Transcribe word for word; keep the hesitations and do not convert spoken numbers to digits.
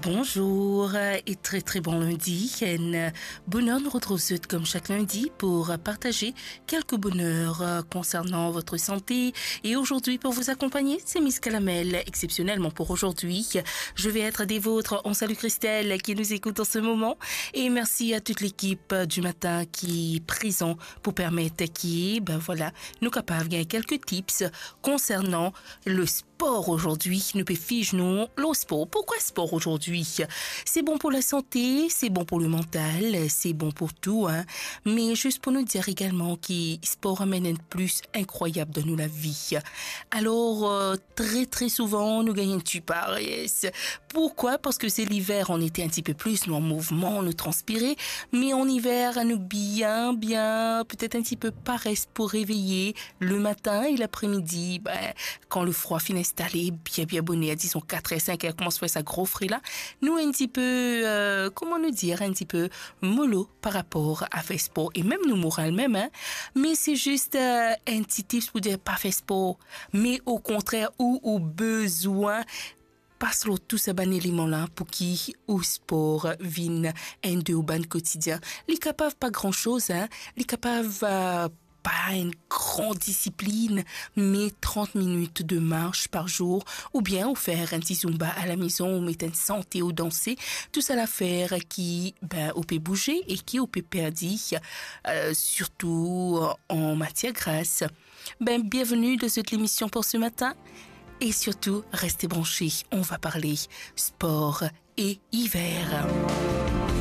Bonjour et très très bon lundi. Enn boner nou retrouv zot comme chaque lundi pour partager quelques bonheurs euh, concernant votre santé. Et aujourd'hui, pour vous accompagner, c'est Miss Calamel. Exceptionnellement pour aujourd'hui, je vais être des vôtres. On salue Christelle qui nous écoute en ce moment. Et merci à toute l'équipe du matin qui est présent pour permettre qui, ben voilà, nou kapav gagn quelques tips concernant le sport aujourd'hui. Nou pe fiz nou lor spor. Pourquoi sport aujourd'hui? C'est bon pour la santé, c'est bon pour le mental, c'est bon pour tout, hein. Mais juste pour nous dire également que sport amène un plus incroyable dans nos vies. Alors, euh, très très souvent, nou gagn enn ti parès. Pourquoi? Parce que c'est l'hiver, on était un petit peu plus, nou an mouvman, nou transpire. Mais en hiver, nou bien, bien, peut-être un petit peu parès pour réveiller le matin et l'après-midi. Ben, quand le froid fin installé, bien, bien boner, disons quatre heures, cinq heures, koumans fer sa gro fre la, nou enn ti pe, euh, kouma nou dir, enn ti pe molo par rapor a fer spor. E mem nou moral mem, hein. Me se zis, euh, enn ti tips pou dir pa fer spor. Me okontrer, ou, ou bizin pas lor tou sa bann eleman la pou ki ou spor vinn enn de ou bann kotidien. Li kapav pa gran soz, hein. Li kapav, euh, pa enn gran disiplinn, me trant minit de mars par zour, oubien ou fer enn ti zumba a la mezon, ou met enn sante ou danse, tou sa la fer ki, ben, ou pe bouze e ki ou pe perdi, euh, sirtou an matier gras. Ben, bienvenue dans cette émission pour ce matin. Et surtout, restez branchés, on va parler sport et hiver.